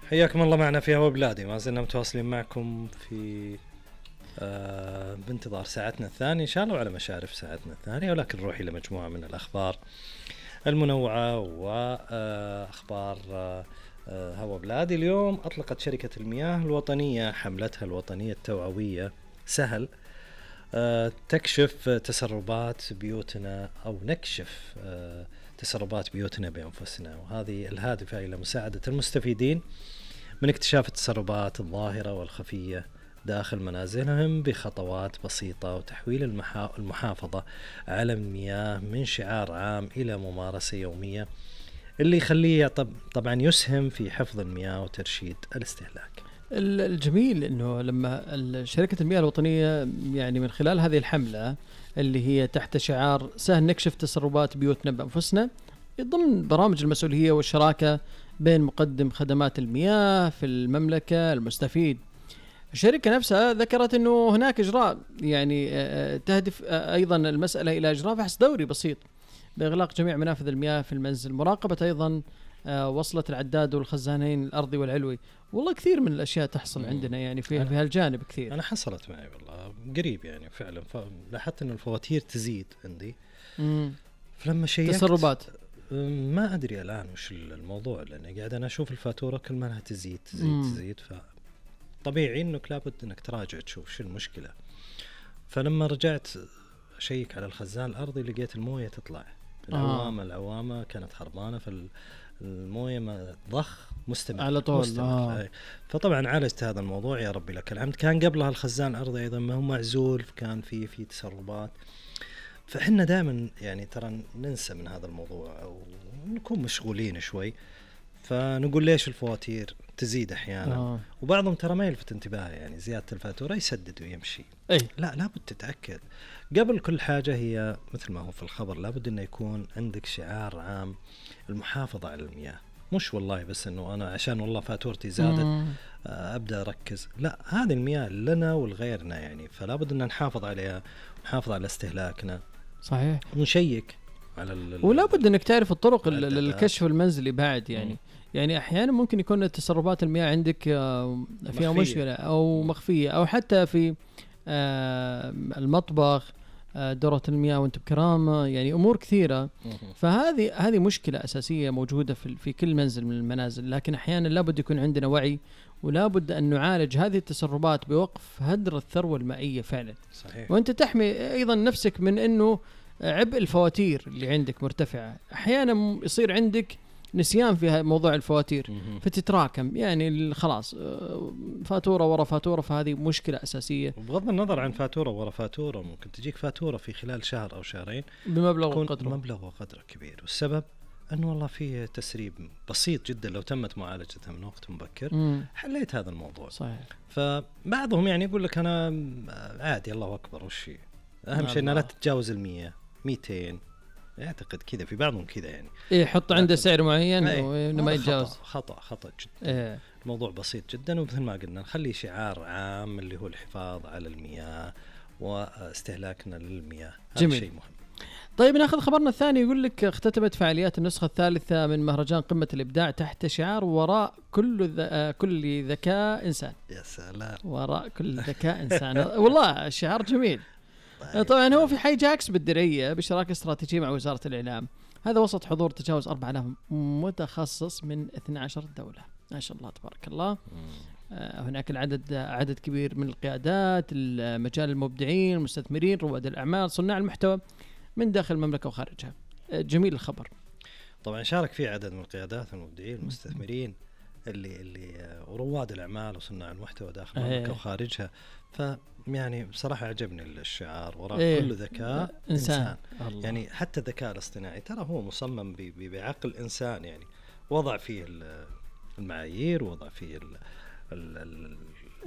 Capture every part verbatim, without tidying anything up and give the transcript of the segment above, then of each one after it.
حياكم الله معنا في هوا بلادي، ما زلنا متواصلين معكم في آه بانتظار ساعتنا الثانية إن شاء الله وعلى مشارف ساعتنا الثانية، ولكن نروح إلى مجموعة من الأخبار المنوعة وأخبار آه آه هوا بلادي. اليوم أطلقت شركة المياه الوطنية حملتها الوطنية التوعوية سهل آه تكشف تسربات بيوتنا أو نكشف آه تسربات بيوتنا بأنفسنا، وهذه الهادفة إلى مساعدة المستفيدين من اكتشاف التسربات الظاهرة والخفية داخل منازلهم بخطوات بسيطة، وتحويل المحا... المحافظة على المياه من شعار عام إلى ممارسة يومية اللي يخليه طب... طبعا يسهم في حفظ المياه وترشيد الاستهلاك. الجميل أنه لما شركة المياه الوطنية يعني من خلال هذه الحملة اللي هي تحت شعار سهل نكشف تسربات بيوتنا بأنفسنا، ضمن برامج المسؤولية والشراكة بين مقدم خدمات المياه في المملكة المستفيد، الشركة نفسها ذكرت أنه هناك إجراء يعني تهدف أيضا المسألة إلى إجراء فحص دوري بسيط بإغلاق جميع منافذ المياه في المنزل، مراقبة أيضا وصلة العداد والخزانين الأرضي والعلوي. والله كثير من الأشياء تحصل عندنا يعني في في هالجانب كثير. أنا حصلت معي والله قريب يعني فعلا، لاحظت أن الفواتير تزيد عندي. مم. فلما شيكت تسربات ما أدري الآن وش الموضوع، لأن قاعد أنا أشوف الفاتورة كل ما لها تزيد تزيد مم. تزيد، فطبيعي إنك لابد إنك تراجع تشوف شو المشكلة. فلما رجعت أشيك على الخزان الأرضي لقيت الموية تطلع العوامة آه. العوامة كانت حربانة، فالموية ما ضخ مستمر على طول مستمر. آه. فطبعا عالجت هذا الموضوع يا ربي لك الحمد. كان قبلها الخزان الأرضي أيضا ما هو معزول، كان في في تسربات. فإحنا دائما يعني ترى ننسى من هذا الموضوع أو نكون مشغولين شوي، فنقول ليش الفواتير تزيد أحيانا آه. وبعضهم ترى ما يلفت انتباه، يعني زيادة الفاتورة يسدد ويمشي. أي. لا لابد تتأكد قبل كل حاجة، هي مثل ما هو في الخبر لابد أنه يكون عندك شعار عام المحافظة على المياه، مش والله بس أنه أنا عشان والله فاتورتي زادت مم. أبدأ أركز. لا، هذه المياه لنا ولغيرنا يعني، فلابد أن نحافظ عليها ونحافظ على استهلاكنا. صحيح. ونشيك على ال ولا بد انك تعرف الطرق الكشف المنزلي بعد يعني. مم. يعني احيانا ممكن يكون تسربات المياه عندك فيها مخفية. مشكلة او مخفية، او حتى في المطبخ دورة المياه وانت بكرامة، يعني امور كثيرة. فهذه هذه مشكلة اساسية موجودة في في كل منزل من المنازل، لكن احيانا لابد يكون عندنا وعي، ولا بد أن نعالج هذه التسربات بوقف هدر الثروة المائية فعلا. صحيح. وأنت تحمي أيضا نفسك من أنه عبء الفواتير اللي عندك مرتفعة. أحيانا يصير عندك نسيان في موضوع الفواتير فتتراكم، يعني خلاص فاتورة ورا فاتورة، فهذه مشكلة أساسية. وبغض النظر عن فاتورة ورا فاتورة، ممكن تجيك فاتورة في خلال شهر أو شهرين بمبلغ وقدره مبلغ وقدره كبير، والسبب أنه والله فيه تسريب بسيط جدا لو تمت معالجتها من وقت مبكر مم. حليت هذا الموضوع. صحيح. فبعضهم يعني يقول لك أنا عادي الله أكبر وشي، أهم شيء أنها لا تتجاوز المية ميتين، يعتقد كذا في بعضهم كذا يعني إيه، يحط عنده سعر معين وإنه ما يتجاوز. خطأ خطأ, خطأ جدا. إيه. الموضوع بسيط جدا، ومثل ما قلنا نخلي شعار عام اللي هو الحفاظ على المياه واستهلاكنا للمياه. هذا شيء مهم. طيب ناخذ خبرنا الثاني، يقول لك اختتمت فعاليات النسخة الثالثة من مهرجان قمة الإبداع تحت شعار وراء كل ذ... كل ذكاء إنسان. يا سلام، وراء كل ذكاء إنسان. والله شعار جميل. طيب. طبعا هو في حي جاكس بالدرية بشراكة استراتيجية مع وزارة الإعلام، هذا وسط حضور تجاوز أربعة آلاف متخصص من اثنتي عشرة دولة. ما شاء الله تبارك الله. آه هناك العدد عدد كبير من القيادات، المجال المبدعين، المستثمرين، رواد الأعمال، صناع المحتوى من داخل المملكة وخارجها. جميل الخبر. طبعا شارك فيه عدد من القيادات والمبدعين والمستثمرين اللي اللي ورواد الأعمال وصناع المحتوى داخل المملكة ايه. وخارجها. فيعني بصراحة عجبني الشعار وراء ايه. كل ذكاء إنسان, إنسان. يعني حتى الذكاء الاصطناعي ترى هو مصمم بعقل إنسان، يعني وضع فيه المعايير، وضع فيه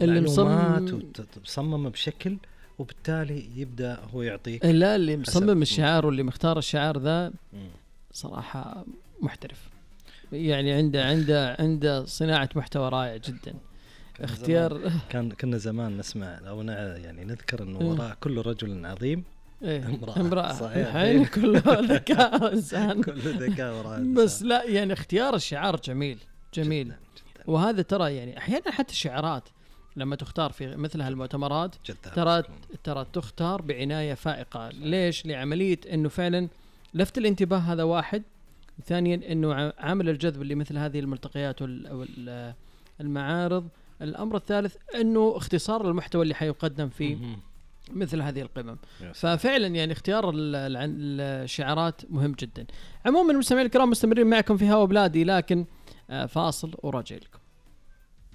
المعلومات وتصمم بشكل، وبالتالي يبدأ هو يعطيك. لا، اللي مصمم الشعار واللي مختار الشعار ذا صراحة محترف، يعني عنده عنده عنده صناعة محتوى رائع جدا. اختيار زمان كان كنا زمان نسمع أو يعني نذكر إنه وراء كل رجل عظيم إيه امرأة, امرأة. صحيح. الحين كله ذكاء إنسان. كل ذكاء وراء بس لا، يعني اختيار الشعار جميل جميل جداً. وهذا ترى يعني احيانا حتى الشعارات لما تختار في مثل هالمؤتمرات جدا ترى ترى تختار بعنايه فائقه. ليش؟ لعمليه انه فعلا لفت الانتباه، هذا واحد. ثانيا انه عامل الجذب اللي مثل هذه الملتقيات والمعارض. الامر الثالث انه اختصار المحتوى اللي حيقدم في مثل هذه القمم. ففعلا يعني اختيار الشعارات مهم جدا. عموما المستمعين الكرام مستمرين معكم في هوا بلادي، لكن فاصل وراجع لكم.